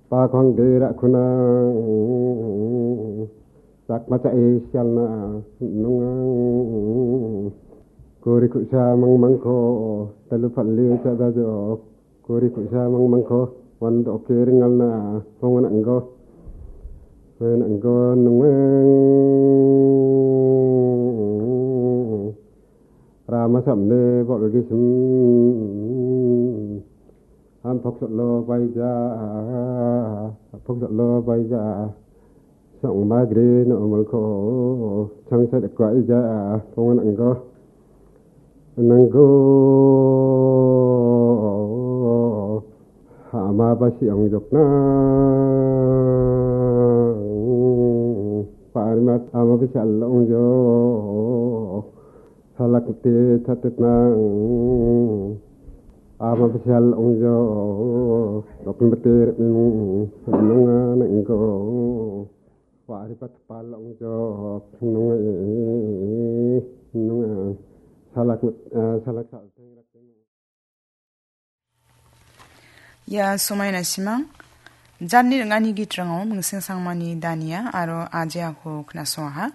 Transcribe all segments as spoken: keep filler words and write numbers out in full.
Bakhang dera kunang, sakma cha isialna nungang. Kuri kusa mangmangko, talu pali cha dajok. Kuri kusa mangmangko, wando oke ringalna, hongan anggo. Hongan anggo nungang. Rama samne bol gisim. Ham pok solo baija. Pok solo baija. Song magri no malko. Chang sa dekwa ija. Pongan anggo. Nanggo. Hama basi ong jokna. Parimat hama basi ong jok. Salak te chatet nang. Ama bisial ongjo. Dokun betir minung. Nunga nengko. Wari pat pal ongjo. Nunga. Nunga. Salak, eh, salak sal. Ia somaina simang, janni ringani gitrango Mingsing Sangmani Dania aro Aje Ako knasoaha,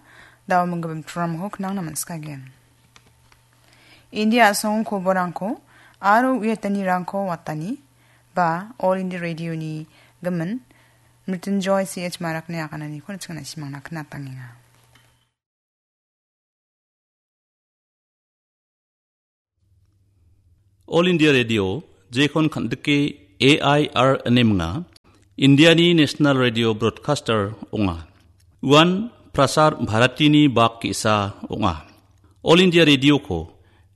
dao minggimin programko knangna manskagen. India asong koborangko aro uiatanirangko watani, ba All India Radio-ni gimin, Mrityunjoy C H Marakni agananiko nichingna simangna knatangenga. All India Radio, jekon kandike A I R ine minga, Indiani National Radio Broadcaster ong·a. Uan Prasar Bharatini bak ge·sa ong·a. All India Radio-ko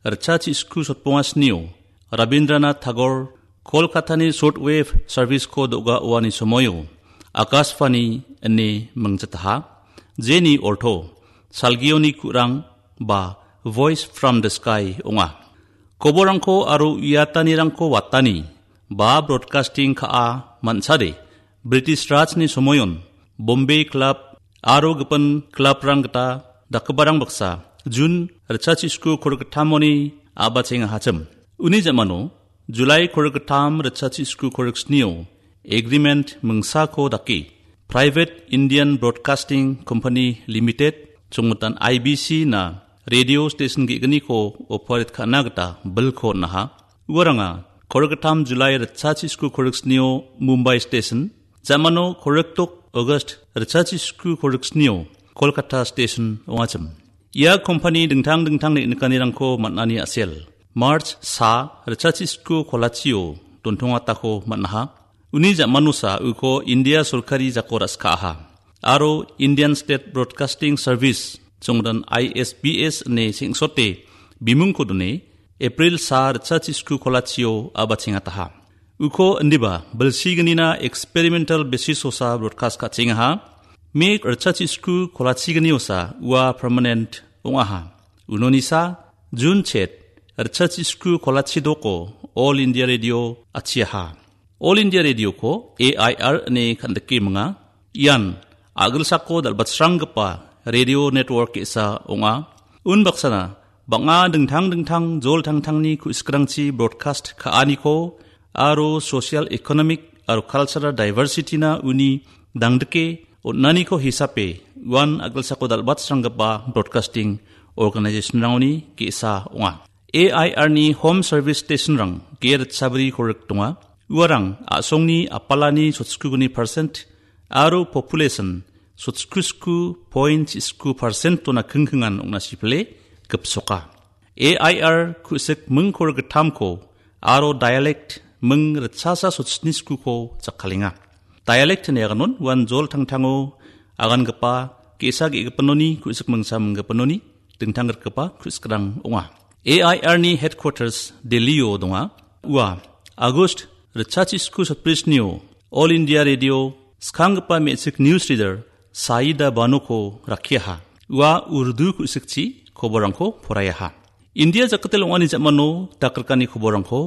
ritchasisku sotbonga snio Rabindranath Tagore Kolkatani shortwave service-ko do·gaoani somoio Akashvani ine mingjataha, jeni orto salgioni ku·rang ba Voice from the Sky ong·a. Koborangko aro uiatanirangko watani ba broadcasting ka·a man·sade British Rajni somoion Bombay Club aro gipin clubrang gita dakgiparang baksa June ritchasisku korikgittamoni a·bachengahachim. Uni ja·mano July korikgittam ritchasisku koriksnio agreement mingsako dake Private Indian Broadcasting Company Limited, chongmitan I B C na radio station ge·gniko operate ka·na gita bilko on·aha. Uaranga korikgittam July ritchasisku koriksnio Mumbai station, ja·mano korikdok August ritchasisku koriksnio Kolkata station ong·achim. Ia kompani dingtang dingtang neng·nikanirangko man·ani a·sel March sa ritchasisku kolachio dontongatako man·aha. Uni ja·manosa uko India sorkari jako ra·skaa aro Indian State Broadcasting Service, chongmitan I S B S ine sengsote bimungko done April sa ritchasisku kolachio a·bachengataha. Uko indiba bilsignina experimental basis-osa broadcast ka·chengaha. Me ritchasisku kolachigniosa ua permanent ong·aha. Unonisa June chet ritchasisku kolachidoko All India Radio achiaha. All India Radio-ko A I R ine kandike minga. Ian a·gilsako dal·batsranggipa radio network ge·sa ong·a. Unbaksana bang·a dingtang dingtang jol tangtangni ku·sikrangchi broadcast ka·aniko aro social, economic aro cultural diversity-na uni dangdike on·aniko hisape uan a·gilsako dal·batsranggipa broadcasting organization-rangoni ge·sa ong·a. A I R-ni home service station-rang ge·e ritchabri korik donga. Uarang a·songni apalani sotskugni percent aro population sotskrisku point sisku percent-ona kingkingan ong·na sipile gipsoka. A I R ku·sik ming korgittamko aro dialect ming ritchasa sotsniskuko jakkalenga. Dialect ine aganon uan jol tangtango agangipa ge·sa ge·gipanoni ku·sik mingsa minggipanoni dingtang rikgipa ku·sikrang ong·a. A I R-ni headquarters Delhi-o donga. Ua August ritchasisku sotbrisnio All India Radio skanggipa me·chik news reader Saida Banoko rakkiaha. Ua Urdu ku·sikchi koborrangko poraiaha. India jakgitel ong·ani ja·mano dakrikani koborrangko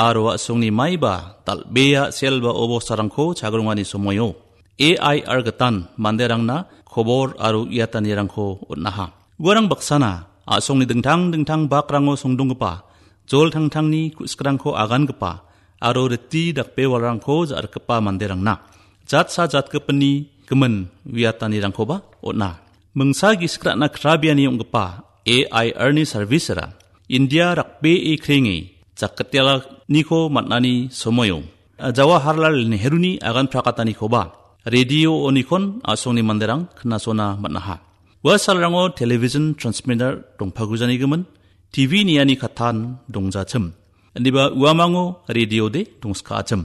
aro a·songni maiba dal·bea selba obostarangko chagrongani somoio A I R gitan manderangna kobor aro uiatanirangko on·aha. Uarang baksana a·songni dingtang dingtang bakrango songdonggipa jol tangtangni ku·sikrangko agangipa aro riti dakbewalrangko ja·rikgipa manderangna jatsa jatgipinni gimin uiatanirangkoba on·a. Mingsa gisik ra·na krabiani ong·gipa A I R-ni service-ra India rakbee krenge jakgittialaniko man·ani somoio Jawaharlal Nehru-ni agan prakatanikoba radio-onikon a·songni manderang knasona man·aha. Ua salrango television transmitter dongpagujanigimin T V niani kattan dongjachim. Indiba uamango radio-de dongskachim.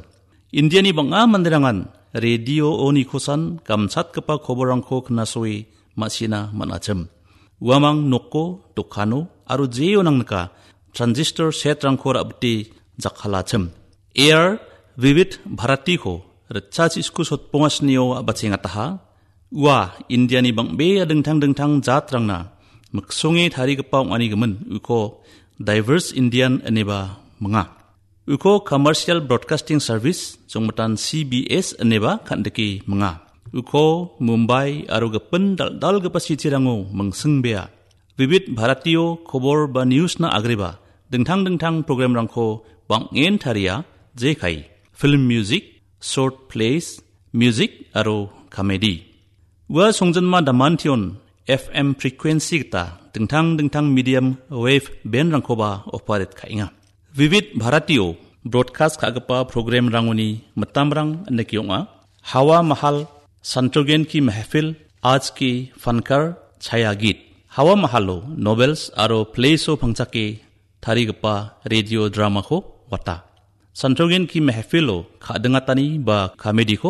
Indiani bang·a manderangan radio-onikosan gamsatgipa koborrangko knasoe ma·sina man·achim. Uamang noko, dokano aro jeo nangnika transistor set-rangko ra·bite jakkalachim. A R Vividh Bharatiko ritchasisku sotbongasnio a·bachengataha. Ua Indiani bang·bea dingtang dingtang jatrangna miksonge tarigipa ong·anigimin uko Diverse Indian ineba minga. Uko Commercial Broadcasting Service, jongmitan C B S ineba kan·dike minga. Uko Mumbai aro gipin dal·dalgipa city-rango mingsingbea. Vividh Bharatio kobor ba news-na agreba dingtang dingtang program-rangko bang·en taria, jekai film music, short plays, music aro comedy. Ua songjinma damantion F M frequency gita dingtang dingtang medium wave band-rangkoba operate ka·enga. Vividh Bharatio broadcast ka·gipa program-rangoni mitamrang indake ong·a: Hawa Mahal, Santogen Ki Mehfil, Aaj Ki Fankar, Chaya Geet. Hawa Mahalo novels aro plays-o pangchake tarigipa radio drama-ko wata. Santogen Ki Mehfilo ka·dingatani ba comedy-ko